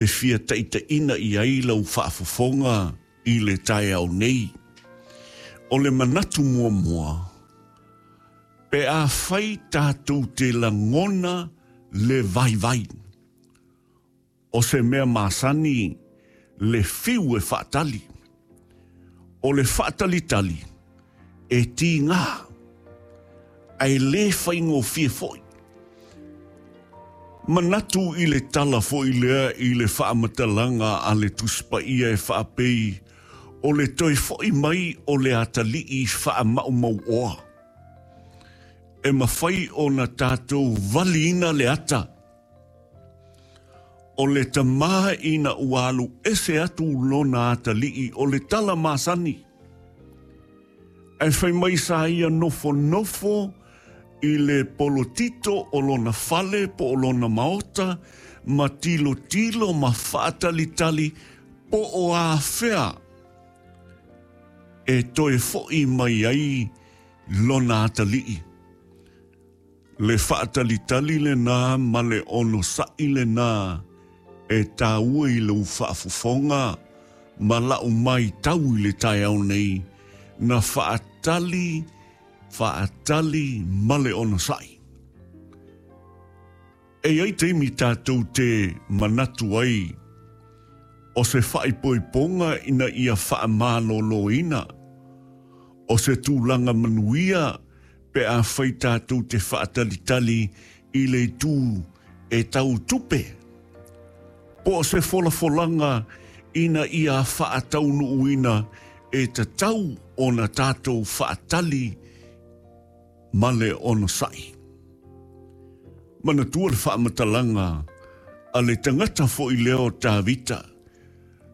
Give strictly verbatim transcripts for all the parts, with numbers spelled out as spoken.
E fia taitaiina i ai lau faafofoga i le taeao nei. O le manatu muamua, pe afai tatou te lagona le vaivai. O se mea masani le fiu e faatali. O le faatalitali e tiga, ae le faigofie foi. Manatu i le tala foi lea i le faamatalaga a le Tusi Paia e faapei o le toe foi mai o le atalii faamaumauoa. E mafai ona tatou valiina le ata. O le tamā ina ua alu ese atu lona atalii o le tala masani. Ae fai mai sa ia nofonofo i le polotito o lona fale po o lona maota ma tilotilo ma faatalitali po o afea e toe foi mai ai lona atalii. Le faatalitali lena ma le onosa'i lena e taua i lau faafofoga ma la'u maitau i le taeao nei na faatali faatali ma le onosai. E i ai taimi tatou te manatu ai o se faaipoipoga ina ia faamaloloina, o se tulaga manuia pe afai tatou te faatalitali i le itu e tau tupe, po o se folafolaga ina ia faataunuuina e tatau ona tatou faatali ma le onosai. Manatua le faamatalaga a le tagata foi lea o Tavita.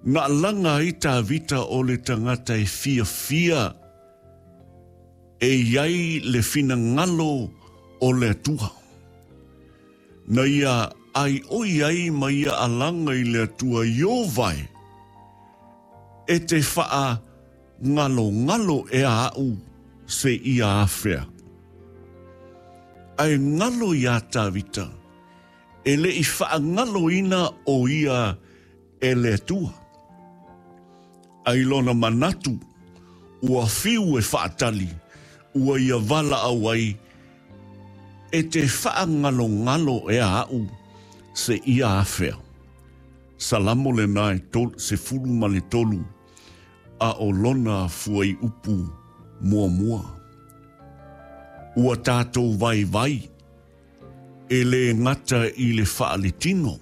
Na alaga ai Tavita o le tagata e fiafia e i ai le finagalo o le Atua. Na ia aioi ai ma ia alaga i le Atua Ieova e, e te faangalongalo ea a'u seia afea. Ae galo iā Tavita, e le i faagaloina o ia e le Atua. Ae i lona manatu, ua fiu e faatali, ua ia valaau ai, e te faangalongalo ea a'u seia afea. Salamo lena e tol, sefulu ma le tolu, a o lona fuaiupu muamua. Ua tatou vaivai, e lē gata i le faaletino,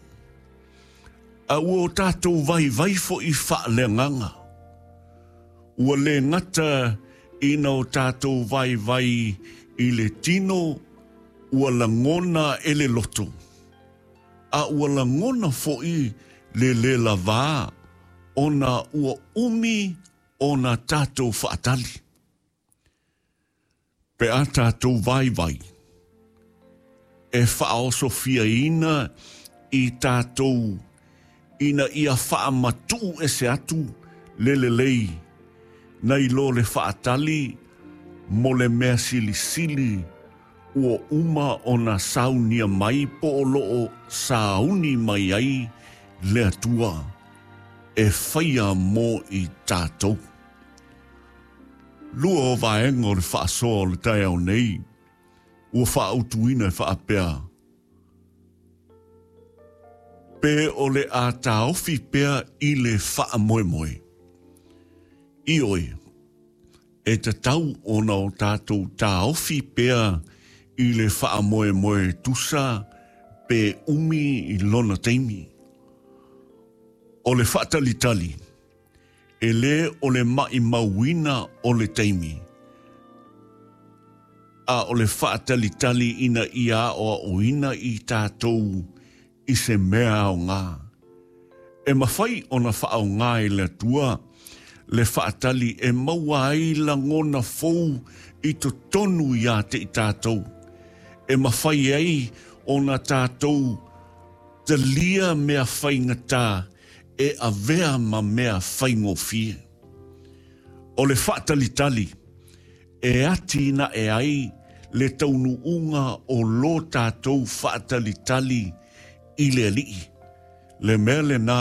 a ua o tatou vaivai foi faaleagaga. Ua lē gata ina o tatou vaivai i le tino, ua lagona e le loto, a ua lagona foi le lē lavā ona ua umi ona tatou faatali. Pe a tatou vaivai, e faaosofiaina i tatou ina ia faamatuu ese atu le lelei nai lo le faatali mo le mea silisili ua uma ona saunia mai po o loo sauni mai ai le Atua e faia mo i tatou. Lua o vaega o le faasoa o le taeao nei, ua faautuina e faapea, pe o le a taofi pea i le faamoemoe. Ioe, e tatau ona o tatou taofi pea i le faamoemoe tusa pe umi i lona taimi. O le faatalitali, e lē o le maimauina o le taimi, a o le faatalitali ina ia aoaoina i tatou i se mea aoga. E mafai ona faaaoga e le Atua le faatali e maua ai lagona fou i totonu iā te i tatou. E mafai ai ona tatou talia mea faigata e avea ma mea faigofie. O le faatalitali e atinae ai le taunuuga o lo tatou faatalitali i le Alii. Le mea lena